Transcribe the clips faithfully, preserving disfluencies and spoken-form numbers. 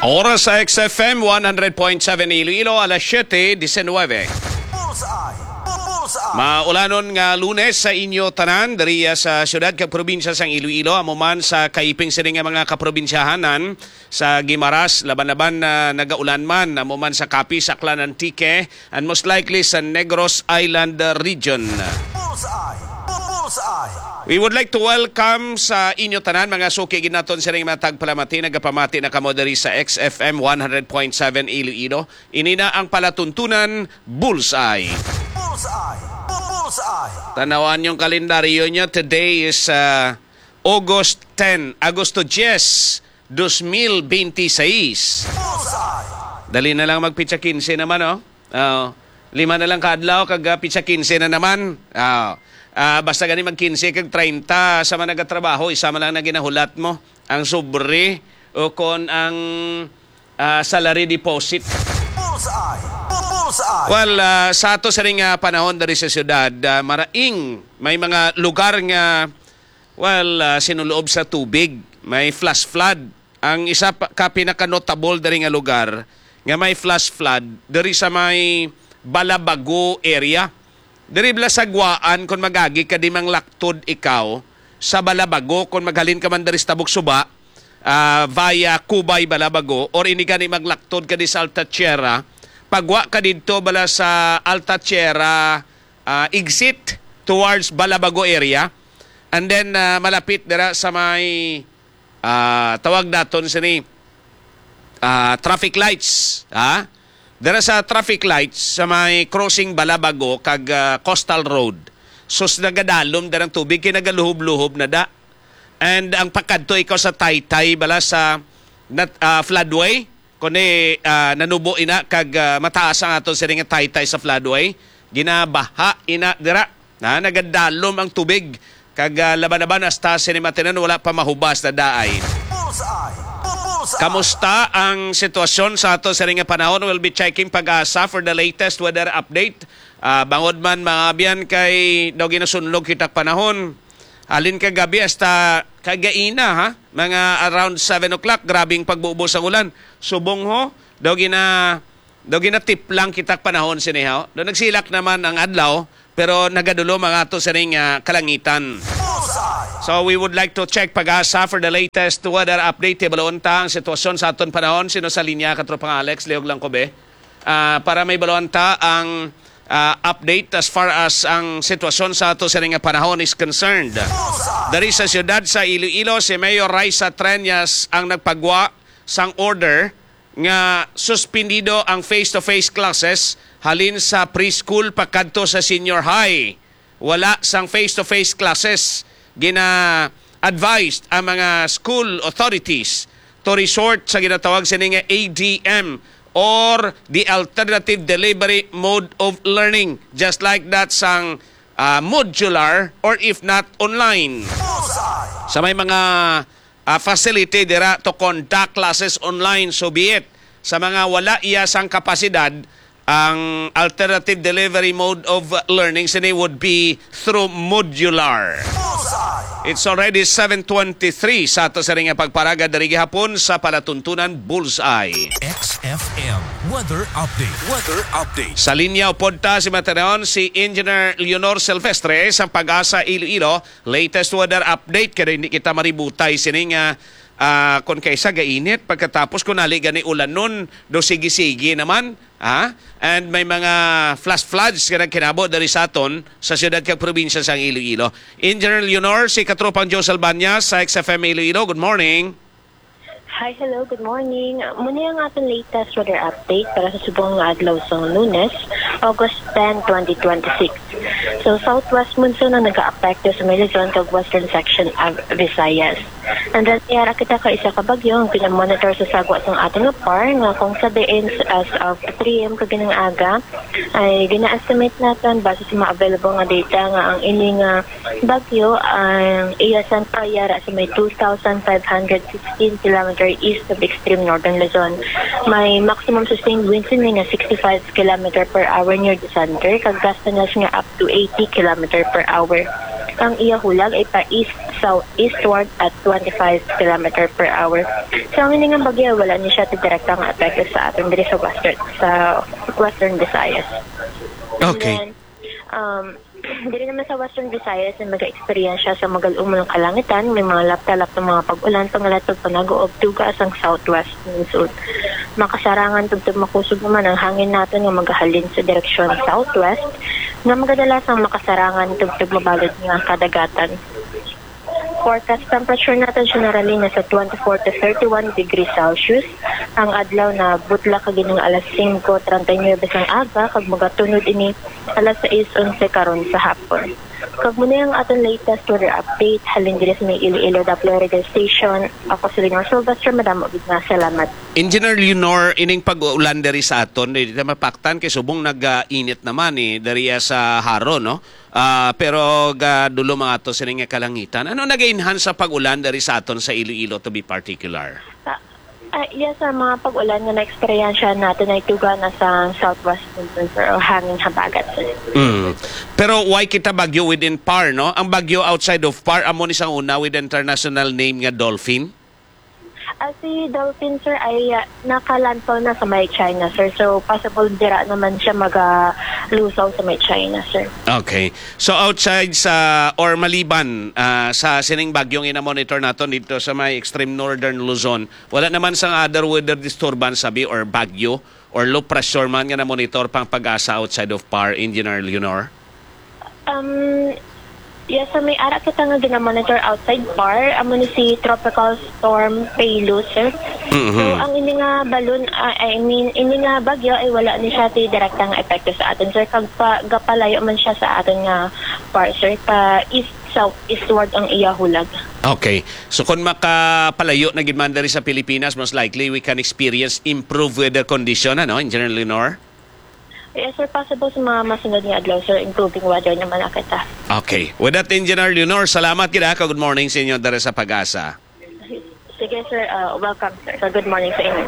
Oras sa X F M one hundred point seven Iloilo, alas siyete disinwebe. Bullseye! Bullseye! Maulanon nga Lunes sa inyo tanan, diri sa siyudad kag probinsya sang Iloilo, amo man sa kaiping sini nga mga kaprobinsyahanan, sa Guimaras, laban-laban na nagaulan man, amo man sa Capiz, Aklan, Antique, and most likely sa Negros Island region. Bullseye! Bullseye! We would like to welcome sa inyo tanan, mga suki gid naton sining mga tagpalamati, nagapamati na kamo diri sa X F M one hundred point seven Iloilo. Ini na ang palatuntunan, Bullseye. Bullseye! Bullseye! Tanawan yung kalendaryo niya. Today is uh, August ten, Agosto diyes, dos mil benti seis. Bullseye! Dali na lang magpitsa kinse naman, oh. Oh, lima na lang ka adlaw kag ah, pitsa kinse na naman. Ah, ah, basta gani mag kinse kag treinta sa man nagatrabaho, isa man lang na ginahulat mo. Ang sobre o kon ang ah, salary deposit. Bullseye! Bullseye! Well, ah, sa ato sining ah, panahon diri sa syudad, ah, maraing may mga lugar nga, well, ah, sinuloob sa tubig. May flash flood. Ang isa pa, ka pinaka-notable diri nga lugar nga may flash flood diri sa may Balabago area. Diri bala sa Guaan, kung magagi ka di manglaktod ikaw sa Balabago, kung maghalin ka man diri sa Tabok Suba, ah, via Cubay, Balabago, or ini gani maglaktod ka di sa Alta Tierra, pagwa ka didto bala sa Alta Tierra, ah, exit towards Balabago area, and then ah, malapit dira sa may ah, tawag naton sini, ah, traffic lights, ha? Dira sa traffic lights sa may crossing Balabago kag ah, Coastal Road. Sus, nagadalom dira ang tubig kay nagaluhob-luhob na da. And ang pakadto ikaw sa Taytay bala sa nat, ah, floodway, kundi ah, nanubo ina kag ah, mataas ang aton sini nga Taytay sa floodway. Ginabaha ina dira. Na nagadalom ang tubig kag ah, laban-laban hasta sini matinan wala pa mahubas na daay. Bullseye! Bullseye! Kamusta ang sitwasyon sa ato sini nga panahon? We'll be checking PAGASA for the latest weather update. Ah, bangod man, mga abyan, kay daw ginasunlog kita panahon. Halin kagabi hasta kagaina, ha? Mga around seven o'clock, grabing pagbubo sa ulan. Subong ho, daw gina daw ginatiplang kita panahon sini, ha? Daw nagsilak naman ang adlaw, pero nagadulom ang ato sining ah, kalangitan. Bullseye! So we would like to check PAGASA for the latest weather update. Hibaluon ta ang sitwasyon sa aton panahon. Sino sa linya, Katropang Alex? Liog lang ko, be. Ah, para may baluan ta ang ah, update as far as ang sitwasyon sa ato sini nga panahon is concerned. Dari sa siyudad sa Iloilo, si Mayor Raisa Treñas ang nagpagwa sang order nga suspendido ang face-to-face classes halin sa preschool pakadto sa senior high. Wala sang face-to-face classes. Gina-advised ang mga school authorities to resort sa ginatawag sini nga A D M or the alternative delivery mode of learning, just like that sang ah, modular or if not online. Sa may mga ah, facility dira to conduct classes online, so be it. Sa mga wala iya sang kapasidad, ang alternative delivery mode of learning sini would be through modular. It's already seven twenty-three sa ato sa ring pagparaga diri gihapon sa palatuntunan Bullseye. X F M weather update. Weather update. Sa linya upod ta si Mateon, si Engineer Leonor Silvestre sa PAGASA Iloilo. Latest weather update, kaya hindi kita maributay sini nga ah, kung kaysa gainit, pagkatapos kung nali gani ulanon, do sige-sige naman, ha? And may mga flash floods nga nagkinabo diri sa aton sa siyudad kag probinsya sang Iloilo. Engineer Leonor, si Katropang Joe Salbaña sa X F M Iloilo. Good morning. Hi, hello, good morning. Muna ang aton latest weather update para sa subong nga adlaw sa Lunes, August ten, twenty twenty-six. So, southwest monsoon ang nag-aapekto sa may Luzon kag western section of Visayas. And then, may ara kita ka isa ka bagyo ang pinamonitor sa sagwa sang aton nga par nga kung sa diin as of three a m kaginang aga, ay gina-estimate naton base sa mga available nga data nga ang ini nga bagyo ang iya sentro yara sa may two thousand five hundred sixteen kilometer east of extreme northern Luzon. May maximum sustained winds ini nga sixty-five kilometer per hour near the center, kag gustiness nga up to eighty kilometer per hour. Ang iya hulag ay pa-east-southeastward at twenty-five kilometer per hour. So, ang ini nga bagyo, wala ni siya ti direkta nga epekto sa aton diri sa western, sa Western Visayas. Okay. And then, um, diri naman sa Western Visayas na mag-eksperyensya sa magal-umon nga kalangitan, may mga lapta-lapta nga mga pag-ulan, pangalatag panago ug duga sang southwest monsoon. Makasarangan tubtob makusog naman ang hangin naton nga magahalin sa direksyon southwest, nga magadalasang makasarangan tubtob mabalod nga kadagatan. Forecast temperature natin generally nasa twenty-four to thirty-one degrees Celsius. Ang adlaw na butla kag ining alas singko treinta y nuebe sang aga kag magatunod ini alas sais onse karon sa hapon. Kag muna ang aton latest weather update halin diri sa may Iloilo Doppler Radio Station. Ako si Lenore Sylvester. Madamo gid nga salamat. Engineer Leonor, ining pag-ulan diri sa aton, di ta mapaktan kay subong nag-init naman eh, diri sa Jaro, no? Ah, pero ga dulo mga to sini nga kalangitan. Ano nag-enhance sa pag-ulan diri sa aton sa Iloilo, to be particular? Ah, ah, yes, sir. Mga pag-ulan nga na-eksperyensya natin ay tuga na sa southwest monsoon, sir, o hangin habagat, sir. Mm. Pero why kita bagyo within PAR, no? Ang bagyo outside of PAR, amo ni sang una with international name nga Dolphin? Ah, si Dolphin, sir, ay ah, naka-landfall na sa may China, sir. So, possible dira naman siya magalusaw sa may China, sir. Okay. So outside sa, or maliban ah, sa sining bagyong ina-monitor naton dito sa may extreme northern Luzon, wala naman sang other weather disturbance sabi or bagyo or low pressure man nga na-monitor pang PAGASA outside of PAR, Engineer Leonor? Um, yes, sir, may ara kita nga gina-monitor outside PAR. Amo ni si Tropical Storm Paylo, sir. Mhm. So, ang ini nga balon, ah, I mean, ini nga bagyo ay wala ni siya ti direkta nga epekto sa aton, sir. Kag pa, gapalayo man siya sa aton nga PAR, sir. Pa east, southeastward ang iya hulag. Okay. So kung makapalayo na gid man diri sa Pilipinas, most likely we can experience improved weather condition, ano, Engineer Leonor? Yes, sir. Possible sa mga masunod nga adlaw, sir, improving weather naman na kita. Okay. With that, Engineer Leonor, salamat gid ha. Good morning sa inyo diri sa PAGASA. Sige, sir. Uh, welcome, sir. So, good morning sa inyo.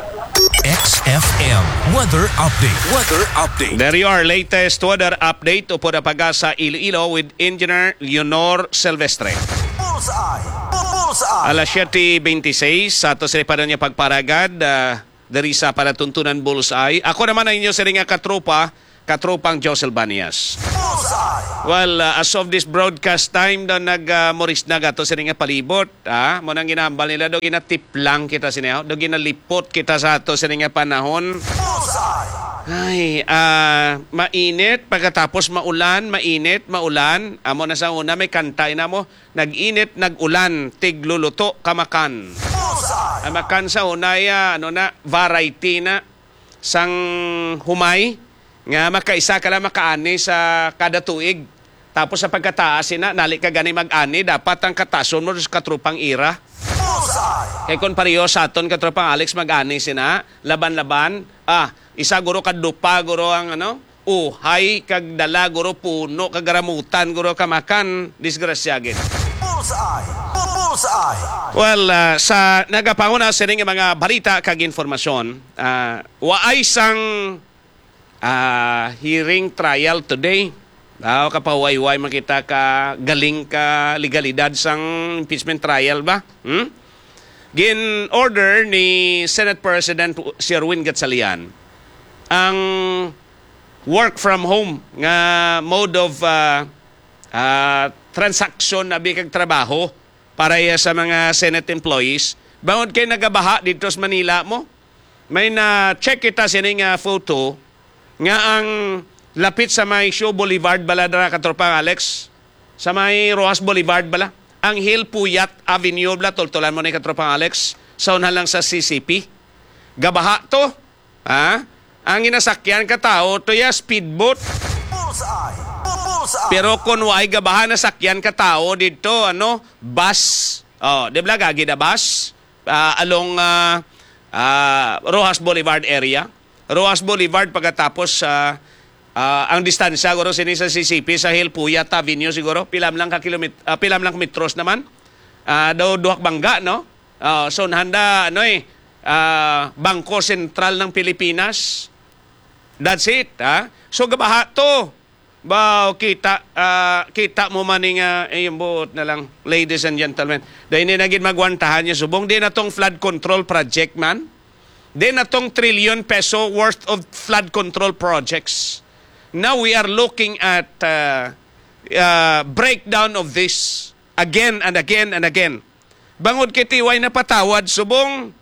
X F M weather update. Weather update. There you are, latest weather update upod ang PAGASA Iloilo with Engineer Leonor Silvestre. Bullseye. Bullseye. Alas siyete beintiseis, sa ato sa ipanon nga pagparagad, ah, diri sa Palatuntunan Bullseye. Ako naman ang inyo siring nga katropa, katropang Josel Banias. Bullseye. Well, uh, as of this broadcast time, daw nag uh, moris na gato siring nga palibot. Ah, mo nang ginambal nila, daw ginatiplang kita sini, daw ginalipot kita sa ato siring nga panahon. Bullseye. Ay, ah, mainit, pagkatapos maulan, mainit, maulan. Amo na sa una, may kantay na mo. Nag-init, nag-ulan, tigluluto, kamakan. Bullseye. Ang makan sa una, ya, ano na, variety na. Sang humay, nga makaisa ka lang makaani sa kada tuig. Tapos sa pagkataas, ina, nali ka gani mag-ani, dapat ang katason mo sa katrupang ira. Bullseye. Kay kung pareho sa aton katropang Alex mag-ani sina, laban-laban, ah, isa guro ka dupa guro ang ano, uhay kag dala guro puno kag ramutan guro kamakan, disgrasya gid. Bullseye. Bullseye. Well, ah, sa nagapanguna sining mga balita kag informasyon, ah, waay sang ah, hearing trial today. Ah, kapahuway-huway man kita ka galing ka legalidad sang impeachment trial ba? Hmm? Gin-order ni Senate President Sherwin Gatchalian ang work from home nga mode of ah, ah, transaction abi kag trabaho para iya sa mga Senate employees. Bangod kay nagabaha dito sa Manila mo, may na-check kita sini nga photo nga ang lapit sa may Shaw Boulevard bala dira, katropang Alex, sa may Roxas Boulevard bala, ang Hill Puyat Avenue bala, tultulan mo ni katropang Alex, sa unhan lang sa C C P. Gabaha to, ha? Ang ginasakyan ka tawo to ya speedboat. Bullseye. Bullseye. Pero kung waay gabaha nasakyan ka tawo dito, ano, bus. Oh, di ba gagi na bus? Ah, along ah, ah, Roxas Boulevard area. Roxas Boulevard pagkatapos sa ah, ang distansya guro sini sa C C P sa Hill Puyat Avenue siguro pila man lang ka kilomit ah, pila man lang metros naman. Ah, daw duha ka bangga, no? Ah, so handa ano eh ah, Bangko Sentral ng Pilipinas. That's it, ha? So gabaha to. Baw, kita, ah, kita mo man ni nga, eh, buot na lang, ladies and gentlemen. Dahil hindi na gid magwantahan niya subong. Di na tong flood control project man. Di na tong trillion peso worth of flood control projects. Now we are looking at, uh, uh, breakdown of this again and again and again. Bangod kay tiway napatawad subong,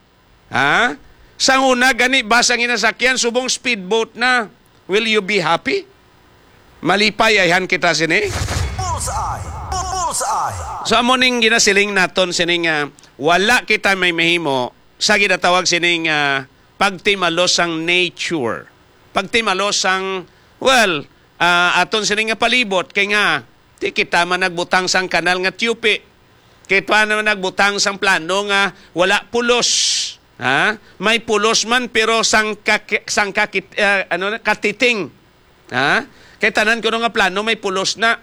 ha? Sang una gani ba sang ginasakyan subong speedboat na? Will you be happy? Malipay ayhan kita sini. Bullseye! Bullseye! So amo ning ginasiling naton sini nga wala kita may mahimo sa ginatawag sining, ah, pagtimalos sang nature. Pagtimalos sang, well, ah, aton sini nga palibot, kay nga, di kita man nagbutang sang kanal nga tiyupi. Kita naman nagbutang sang plano nga wala pulos. Ha? May pulos man, pero sang kaki-, sang kakit-, ah, ano na, katiting. Ha? Kay tanan kuno nga plano may pulos na.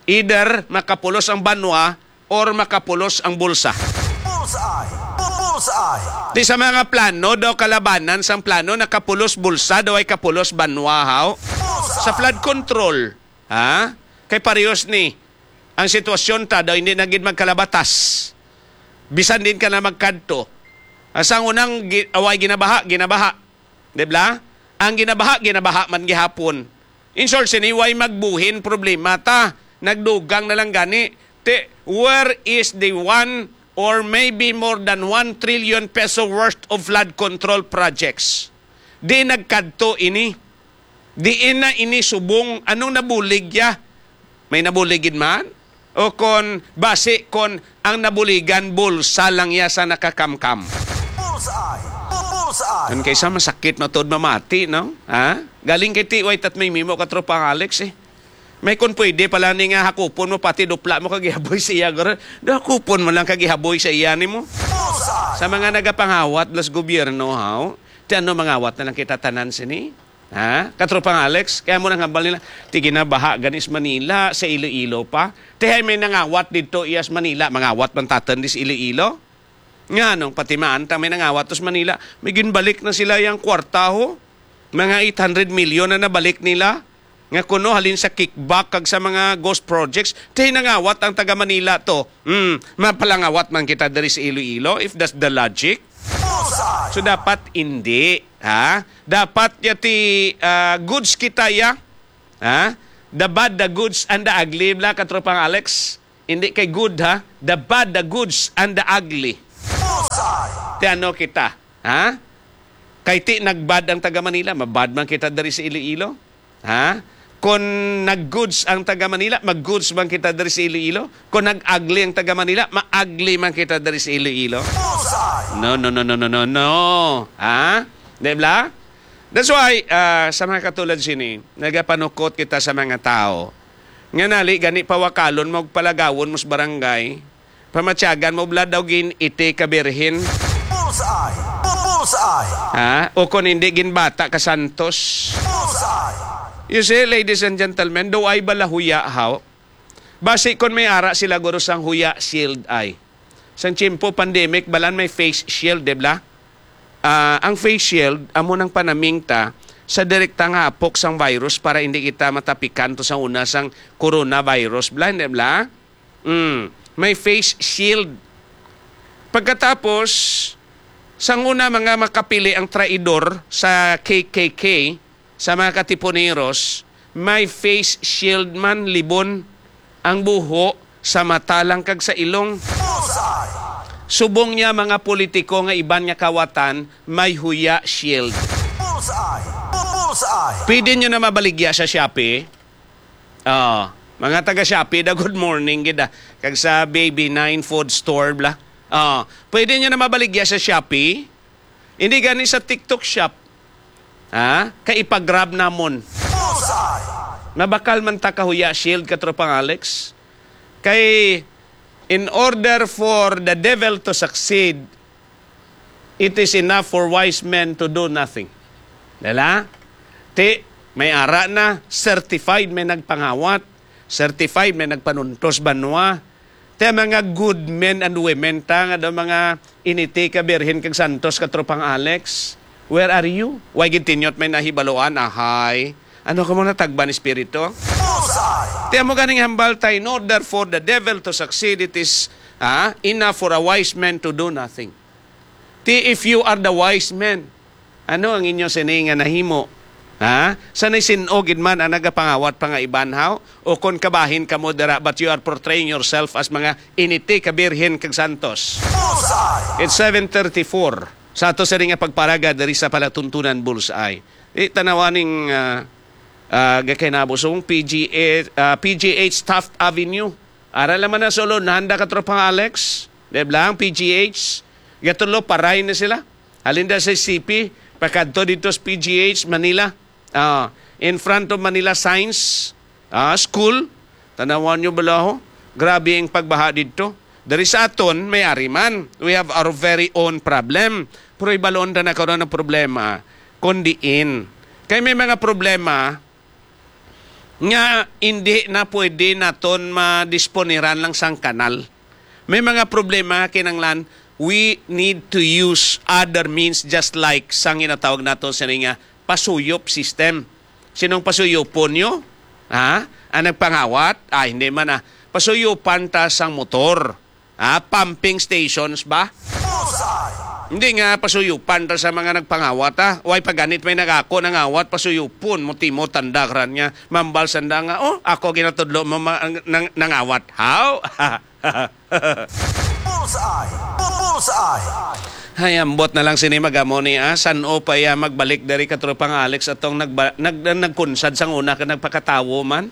Either makapulos ang banwa or makapulos ang bulsa. Bullseye! Bullseye! Di sa mga plano daw kalabanan sang plano nakapulos bulsa daw ay kapulos banwa, haw? Sa flood control, ha? Kay parehos ni ang sitwasyon ta daw hindi na gid magkalabatas. Bisan din ka na magkadto. Asang unang gi-, away ginabaha, ginabaha. Di bla? Ang ginabaha, ginabaha man gihapon. In short, sini way magbuhin problema ta. Nagdugang na lang gani. Ti, where is the one or maybe more than one trillion peso worth of flood control projects? Di nagkadto ini. Diin na ini subong? Anong nabulig ya? May nabulig gid man? O kon basi kon ang nabuligan bulsa lang ya sa nakakamkam? Bullseye! Bullseye! Ang kaysa masakit na tuod mamati, no? Ha? Galing kay tiway tat may mimo ka tropang Alex eh. May kon pwede pala ni nga hakupon mo pati dupla mo kag ihaboy sa iya, guro. Do hakupon mo lang kag ihaboy sa iya nimo. Bullseye! Sa mga nagapangawat las gobyerno, haw? Ti ano mangawat na lang kita tanan sini? Ha? Katropang Alex, kaya mo nang hambal nila, ti ginabaha gani sa Manila, sa Iloilo pa. Ti hay may nangawat dito iya sa Manila, mangawat man tatan di sa Iloilo. Nga nung patimaan ta may nangawat to sa Manila, may ginbalik na sila yang kwarta ho. Mga eight hundred million na nabalik nila. Nga kuno halin sa kickback kag sa mga ghost projects, ti nangawat ang taga Manila to. Hmm, mapalangawat man kita diri sa Iloilo if that's the logic. Bullseye! So dapat hindi, ha? Dapat ya ti, ah, goods kita ya. Ha? The bad, the goods, and the ugly, bla, katropang Alex. Hindi kay good, ha? The bad, the goods, and the ugly. Bullseye! Ti ano kita, ha? Kay ti nagbad ang taga Manila, mabad man kita diri sa Iloilo. Ha? Kon nag-goods ang taga Manila, mag-goods man kita diri sa Iloilo. Kon nag-ugly ang taga Manila, ma-ugly man kita diri sa Iloilo. Bullseye! No, no, no, no, no, no, no. Ha? Di bla? That's why, ah, sa mga katulad sini, nagapanukot kita sa mga tao. Nga nali, gani pawakalon mo, palagawon mo sa barangay, pamatyagan mo, bla daw gin-iti ka birhen. Bullseye! Bullseye! Ha? O kung hindi, ginbata ka santos. Bullseye! You see, ladies and gentlemen, do ay balahuya, haw? Basi kon may ara sila, guro, sang huya shield ay. Sang tiyempo pandemic, balan may face shield, di bla? Ah, ang face shield, amo nang panamingta sa direkta nga apok sang virus para hindi kita matapikan to sa una sang coronavirus, bla, di bla? Mm, may face shield. Pagkatapos, sang una mga makapili ang traidor sa K K K, sa mga katipuneros, may face shield man, libon ang buho sa mata lang kag sa ilong. Bullseye! Subong niya mga politiko nga iban nga kawatan, may huya shield. Bullseye! Bullseye! Pwede nyo na mabaligya sa Shopee. Oh, mga taga Shopee da, good morning gid ah. Kag sa Baby Nine Food Store bla. Oh, pwede nyo na mabaligya sa Shopee. Hindi gani sa TikTok Shop. Ha? Kay ipa-grab namon. Bullseye! Mabakal man ta kahuya shield, katropang Alex. Kay in order for the devil to succeed, it is enough for wise men to do nothing. Dala? Ti, may ara na, certified may nagpangawat, certified may nagpanuntos banwa. Ti, mga good men and women ta, nga daw mga initi ka birhen kag santos, katropang Alex. Where are you? Why gid tinyot may nahibaluan, ahay? Ano ka mo natagban, espiritu? Ti amo ganing hambal ta, "In order for the devil to succeed, it is, ah, enough for a wise man to do nothing." Ti, if you are the wise man, ano ang inyo sini nga nahimo? Ha? Sanay sin-o gid man ang nagapangawat pa nga iban, haw? O kon kabahin kamo dira, but you are portraying yourself as mga initi ka birhen kag santos. Bullseye! It's seven thirty-four. Sa ato sini nga pagparaga diri sa Palatuntunan Bullseye. Di tanawa ning, ah, ah, gakahinabo sa P G A, ah, P G H Taft Avenue. Ara naman na sa ulo, nahanda ka, Tropang Alex. Di ba lang, P G H? Gatudlo, paray na sila. Halin da sa C P, pakadto dito sa P G H, Manila. Ah, in front of Manila Science, ah, School. Tanawan nyo bala, ho? Grabe ang pagbaha dito. Dari sa aton, may ari man. We have our very own problem. Pero ibalon na karon ang problema, kung diin. Kay may mga problema, nga hindi na pwede naton madisponiran lang sang kanal. May mga problema kinanglan, we need to use other means, just like sang ginatawag naton sini nga pasuyop system. Sinong pasuyopon nyo? Ha? Ang nagpangawat? Ah, hindi man, ah. Pasuyupan ta sang motor. Ah, pumping stations ba? Bullseye! Hindi nga pasuyupan ta sa mga nagpangawat, ah. Way pa ganit may nagako nangawat, pasuyupon mo, timo tanda kran nga mambal sanda nga, "Oh, ako ginatudlo mo ma- ang- nang- nangawat." How? Bullseye! Bullseye! Ay, ambot na lang sini magamo ni, ah. San-o pa iya magbalik diri, Katropang Alex, atong nagba- nag- nagkunsad sang una ka nagpakatawo man?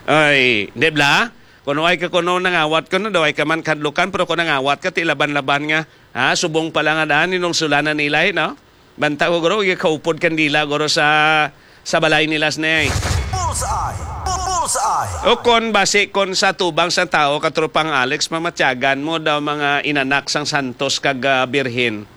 Ay, di bla? Kuno ay ka kuno nangawat ka na daw ay ka man kadlukan, pero kung nangawat ka, ti laban-laban nga, ha, subong pa lang nga daan, inong sulanan nila, eh, no? Banta ko, guro, ikaupod kandila, guro, sa, sa balay nila, snay. Bullseye! Bullseye! O kon basi kon sa tubang sa tao, Katropang Alex, mamatyagan mo daw mga inanak sang santos kag, ah, birhen.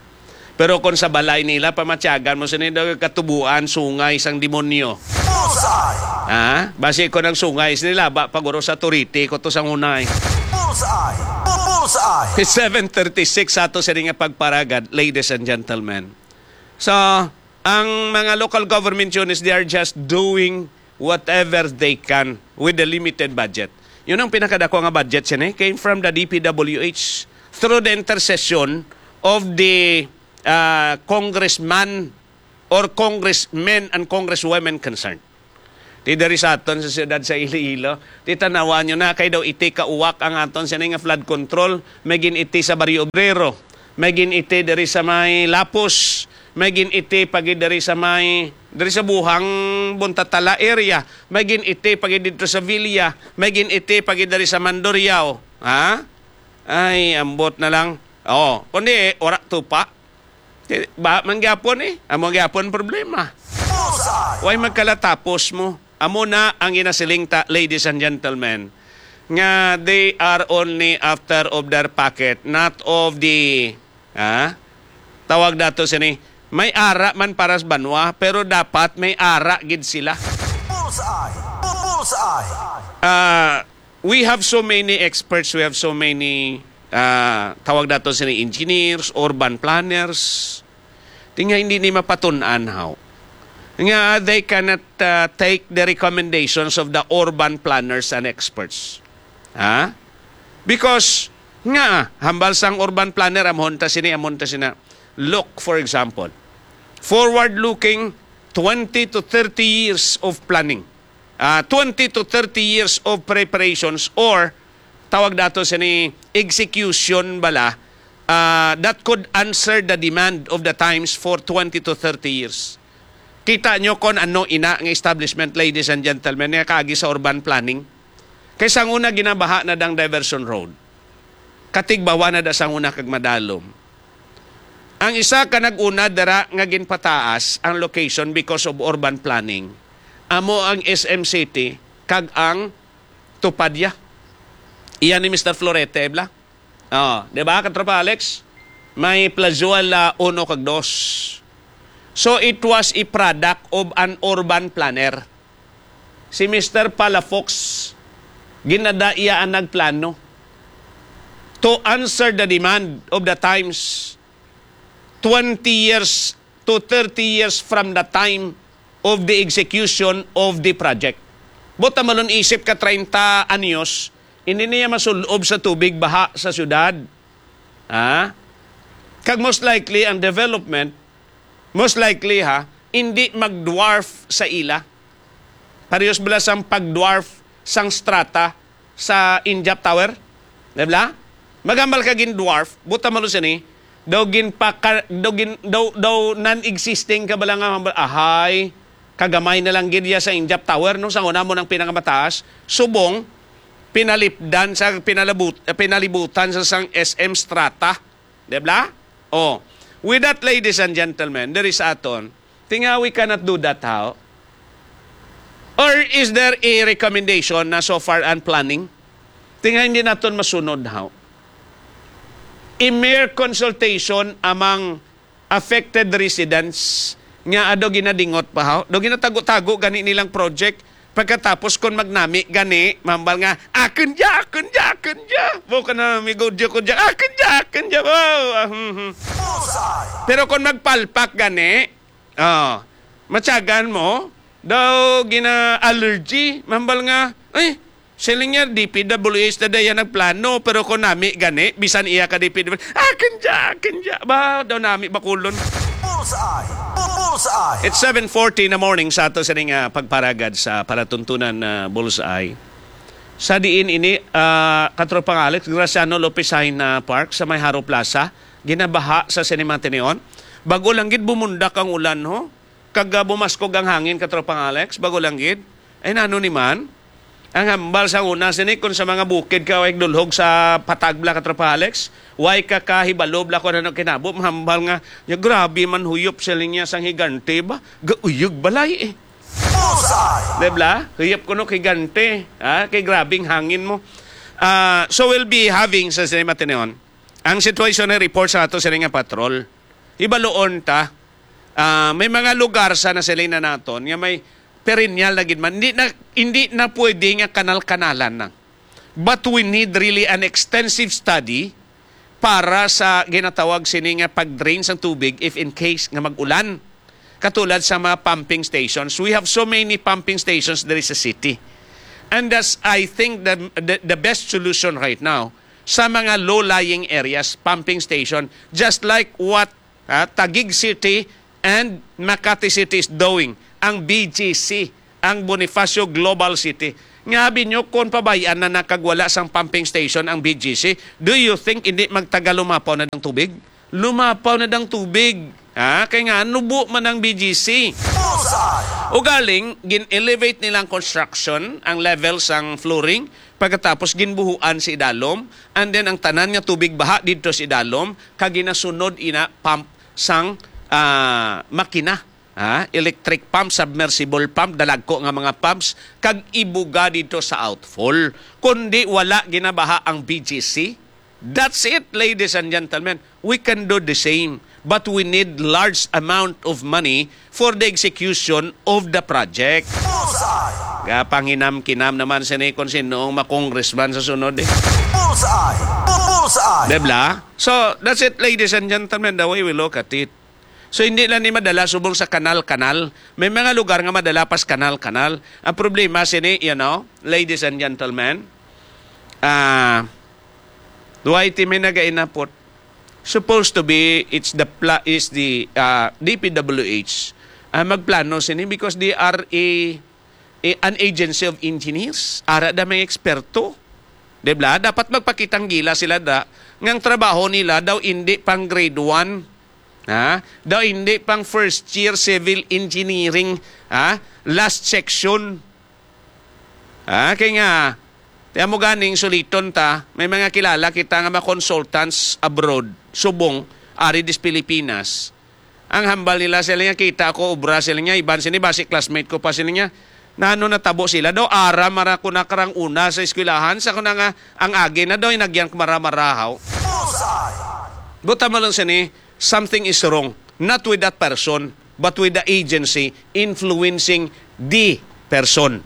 Pero kon sa balay nila, pamatyagan mo sini daw katubuan, sungay sang demonyo. Bullseye! Ha? Basi kon ang sungay sini laba pa guro sa turiti ko to sang unay. Bullseye! Bullseye! It's seven thirty-six sa ato sini nga pagparagad, ladies and gentlemen. So, ang mga local government units, they are just doing whatever they can with the limited budget. Yun ang pinakadako nga budget sini came from the D P W H through the intercession of the, ah, congressman or congressmen and congresswomen concerned. Ti diri sa aton sa siyudad sa Iloilo, ti tanawan nyo na, kay daw iti ka uwak ang aton sini nga flood control, may gin-iti sa Barrio Obrero, may gin-iti diri sa may Lapus, may gin-iti pa gid diri sa may, diri sa Buhang, Buntatala area, may gin-iti pa gid dito sa Villa, may gin-iti pa gid diri sa Mandurriao. Ha? Ay, ambot na lang. Oh, kundi wala tupa. Ti, ba man gyapon, eh. Amo gyapon problema. Bullseye! Way magkalatapos mo. Amo na ang ginasiling ta, ladies and gentlemen, nga they are only after of their pocket, not of the, ah, tawag nato sini, may ara man para sa banwa, pero dapat may ara gid sila. Bullseye! Bullseye! Ah, we have so many experts, we have so many, ah, tawag nato sini engineers, urban planners. Ti nga hindi ni mapatun-an, haw. Nga they cannot, ah, take the recommendations of the urban planners and experts. Ha? Because, nga, hambal sang urban planner, amon ta sini, amon ta sina. Look, for example, forward-looking twenty to thirty years of planning. Ah, twenty to thirty years of preparations or tawag nato sini execution bala, ah, that could answer the demand of the times for twenty to thirty years. Kita nyo kon ano ina nga establishment, ladies and gentlemen, nga kaagi sa urban planning. Kay sang una ginabaha na dang diversion road. Katigbawa na da sang una kag madalom. Ang isa ka nag-una dira nga ginpataas ang location because of urban planning, amo ang S M City kag ang Tupadia. Iya ni Mister Florete, bla? Oh, di ba, Katropa Alex? May Plazuela uno kag dos. So, it was a product of an urban planner. Si Mister Palafox, ginada iya ang nagplano to answer the demand of the times twenty years to thirty years from the time of the execution of the project. Buta malon isip ka treinta anyos, hindi niya masulob sa tubig baha sa syudad. Ha? Kag most likely, ang development, most likely, ha, hindi mag-dwarf sa ila. Parehas bala sang pag-dwarf sang strata sa Injap Tower? Di ba? Magambal ka gin-dwarf, buta malon sini, daw ginpaka-, daw gin-, daw, daw non-existing ka bala nga hambal, ahay, kagamay na lang gid ya sa Injap Tower, no? Sa una mo nang pinakamataas, subong, pinalipdan sa, pinalabut-, pinalibutan sa sang S M Strata. Di ba? Oh, with that, ladies and gentlemen, there is aton. Tinga, we cannot do that, how? Or is there a recommendation na so far ang planning? Tinga, hindi naton masunod, how? A mere consultation among affected residents nga ado ginadingot pa, how? Do ginatago-tago gani nilang project, pagkatapos kon magnami gani, mambal nga, "Akon dya, akon dya, akon dya." Bo ka na, amigo, dya ko dya, "Akon dya, akon dya." Oh, ah, hmm, hmm. Pero kon magpalpak gani, oh, matyagan mo, daw gina-allergy, mambal nga, "Ay, siling niya, D P W H na daya nagplano, pero kung nami gani, bisan iya ka D P W H, akon dya, akon dya." Ba, daw nami bakulon. Bullseye! Bu-, Bullseye! It's seven forty in the morning sa ato sining, ah, pagparagad sa palatuntunan na Bullseye. Sa diin ini, ah, Katropang Alex, Graciano Lopez Jaen, ah, Park sa may Jaro Plaza, ginabaha sa Cinema Ateneo. Bago lang gid bumundak ang ulan, ho. Kag, ah, bumaskog ang hangin, Katropang Alex, bago lang gid. Ay, nano ni man? Ang hambal sa una, sini, kung sa mga bukid ka, way dulhog sa patag bala, Katropang Alex, way ka kahibalo bala kung ano kinabo, mahambal nga, "Ya, grabe man huyop," siling niya, "sang higante ba? Gauyog balay eh." Bullseye! Di bala? Huyop kuno higante. Ha? Kay grabing hangin mo. Ah, so we'll be having sa Cinema Ateneo ang sitwasyon na report sa ato sini nga patrol. Hibaluon ta, ah, may mga lugar sa nasilina naton nga may perennial na gid man. Hindi na, hindi na pwede nga kanal-kanalan na. But we need really an extensive study para sa ginatawag sini nga pag-drain sang tubig if in case nga mag-ulan. Katulad sa mga pumping stations, we have so many pumping stations diri sa city. And that's, I think, the, the, the best solution right now sa mga low-lying areas, pumping station, just like what, ah, Taguig City and Makati City is doing, ang B G C, ang Bonifacio Global City. Nga abi nyo, kung pabayaan na nakagwala sang pumping station ang B G C, do you think hindi magtagal lumapaw na dang tubig? Lumapaw na dang tubig. Ha? Kay nga, nubo man ang B G C. Bullseye! Ugaling, gin-elevate nila ang construction, ang level sang flooring, pagkatapos ginbuhuan sa idalom, and then ang tanan nga tubig baha didto sa idalom, kag ginasunod ina pump sang, ah, makina. Ha? Electric pump, submersible pump, dalagko nga mga pumps, kag ibuga didto sa outfall. Kundi wala ginabaha ang B G C. That's it, ladies and gentlemen. We can do the same, but we need large amount of money for the execution of the project. Bullseye! Gapanghinam-kinam naman sini kung sino ang makongressman sa sunod eh. Bullseye! Bu-, Bullseye! Debla? So, that's it, ladies and gentlemen, the way we look at it. So, hindi lang ni madala subong sa kanal-kanal. May mga lugar nga madala pas kanal-kanal. Ang problema sini, you know, ladies and gentlemen, ah, duway ti may nagainapot. Supposed to be, it's the pla-, is the, ah, D P W H ang magplano sini because they are a, a, an agency of engineers. Ara da may eksperto. Di ba? Dapat magpakitanggila sila da nga ang trabaho nila daw hindi pang grade one. Ha? Daw hindi pang first year civil engineering, ha? Last section. Ha? Kay nga, tiyan mo ganing suliton ta, may mga kilala kita nga mga consultants abroad, subong, ari dis Pilipinas. Ang hambal nila, sila niya, kita ko, obra sila niya, iban sila, basi classmate ko pa sila niya. Nano natabo sila? Daw, ara mara ko na karang una sa eskwelahan, sa ko na nga, ang agi na daw, inagyan ko mara-marahaw. Buta mo lang sini, something is wrong. Not with that person, but with the agency influencing the person.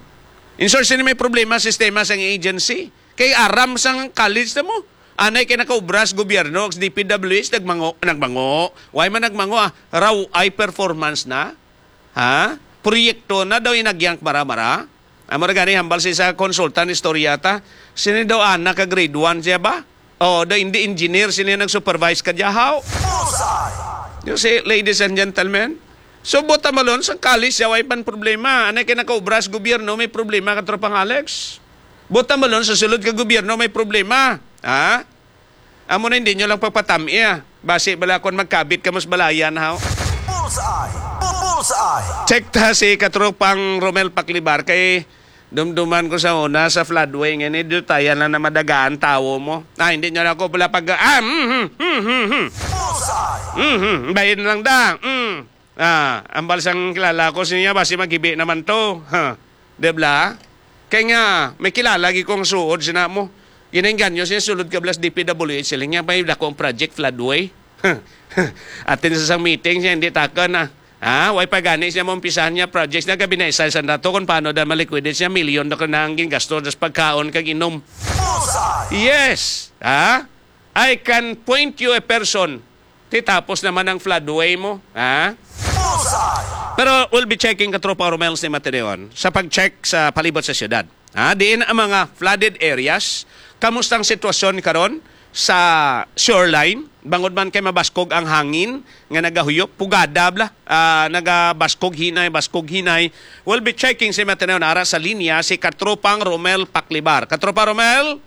In short, sini may problema, sistema sang agency. Kay aram sang college na mo. Anay kay nakaubra sa gobyerno, sa D P W H, nagmango, nagmango. Why man nagmango, ah? Raw ay performance na? Ha? Proyekto na daw inagyan mara-mara? Amo ra gani, hambal sa isa konsultan, istorya ta. Sini daw anak ka grade one siya ba? O, daw hindi engineer, sini nag-supervise ka diya, how? You see, ladies and gentlemen, so, buta malon, sa college siya, way pan problema. Anay kay nakaubra sa gobyerno, may problema ka, Tropang Alex. Buta malon, sa sulod ka gobyerno, may problema. Ha? Amo na, hindi nyo lang pagpatam-i, ah. Basi bala kon magkabit ka mas balayan, haw? Bullseye! Bullseye! Check ta si Katropang Romel Paklibar kay dumduman ko sa una sa floodway nga ni dutayan lang na madagaan tawo mo. Ah, hindi nyo lang ako pala pag, ah, mm, mm, mm, mm, mm. Bullseye! Mm, mm, bayin lang da. Mm. Ah, ambal sang kilala ko siya, basi magibi naman to. Ha. Di bala? Kay nga, may kilala gi kong suod sina mo. Ginainganyo siya, sulod ka blas D P W H sila niya, may dako ang project floodway. Atin sa sang meeting siya, hindi taka na. Ha? Way pa gani siya maumpisahan niya projects na gabi na isa sa dato kung paano daw maliquidate siya, milyon na ko na ang gingasto sa pagkaon kag inom. Yes! Ha? I can point you a person. Ti tapos naman ang floodway mo. Ha? Pero we'll be checking, Katropa Romel, sa Mateon, sa pag-check sa palibot sa syudad. Ha? Diin ang mga flooded areas? Kamusta ang sitwasyon karon sa shoreline? Bangod man kay mabaskog ang hangin nga nagahuyop, pugada bala, ah, nagabaskog hinay, baskog hinay. We'll be checking sa Mateon ara sa linya si Katropang Romel Paklibar. Katropa Romel?